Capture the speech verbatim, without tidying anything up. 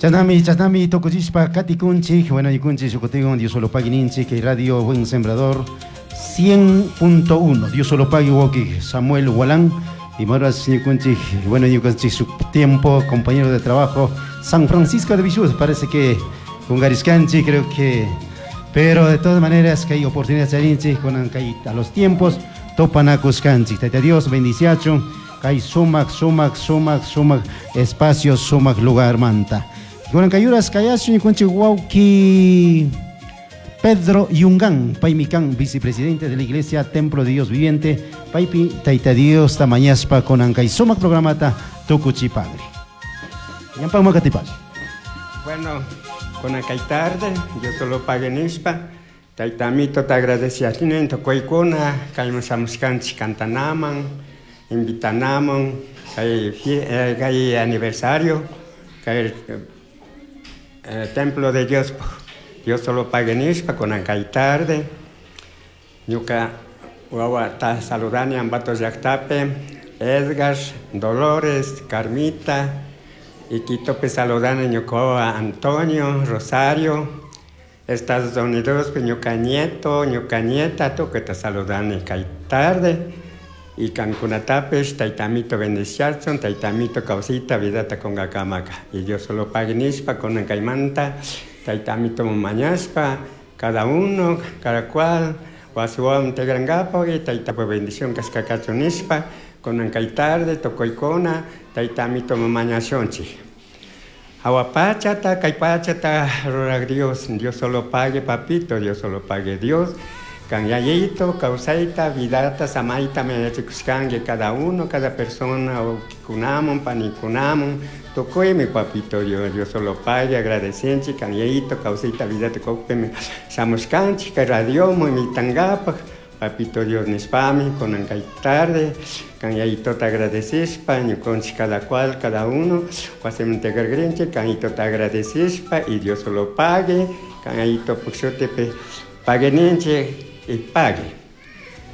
Chashnami, chashnami tukuchishpa katikunchik, bueno, ñukunchik shukutikun Dios solo pagui ninchik, kay Radio Buen Sembrador cien punto uno. Dios solo pagui, wawki Samuel Walán. Y maras ñukunchik, bueno, ñukunchik su tiempo, compañero de trabajo, San Francisco de Villuz, parece que con Gariscanchi, creo que, pero de todas maneras que hay oportunidad charinchik, con a los tiempos, tupanakushkanchik. Tayta Dios bendiciachun, kay sumak, sumak, sumak, sumak espacio, sumak lugar manta. Kunan kayuras kayashun ñukunchik wawki Pedro Yungán, paymi kan vicepresidente de la Iglesia Templo de Dios Viviente, paypi Tayta Dios ta mañashpa kunan kay sumak programata tukuchipagri. Ñampakman katipay. Bueno, kunan kay tarde, Dios solo pague nishpa, Tayta Amito te agradecía tukuykuna, kayman shamushkanchik cantanaman, invitanaman, kay, eh, kay aniversario, kay eh, Templo de Dios, Dios solo pague nishpa, kunan kay tarde, ñuka wawa ta saludani Ambato llaktapi, Edgar, Dolores, Carmita, y Quitopi saludani ñuka wawa Antonio, Rosario, Estados Unidos, ñuka nieto, ñuka nieta, tukuyta saludani kay tarde, y kankunatapish Tayta Amito bendiciachun, Tayta Amito kawsayta vidata kungakamaka. Y Dios solo pague nishpa, kunan kaymanta, Tayta Amito mañashpa, cada uno, cada cual, wasiwan tigrankapak y Tayta bendición kashka kachun nishpa, kunan kay tarde, tukuykuna, Tayta Amito mañashunchik. Jahua pachata, kay pachata, rurak Dios, Dios solo pague, papito, Dios solo pague Dios. Kan yayito, kawsayta, vidata, samayta, mañachikushkanki cada uno, cada persona, wawkikunamun, panikunamun, tukuymi papito Dios, Dios solo pague, agradecenchik, kan yayito, kawsayta, vidata kukpimi shamushkanchik, kay radioman invitangapak, papito Dios nishpami, kunan kay tarde, kan yayitota agradecishpa, ñukanchik cada cual, cada uno, wasiman tigragrinchik, kan yayitota agradecishpa, y Dios solo pague, kan yayito shutipi pague ninchik, y pague.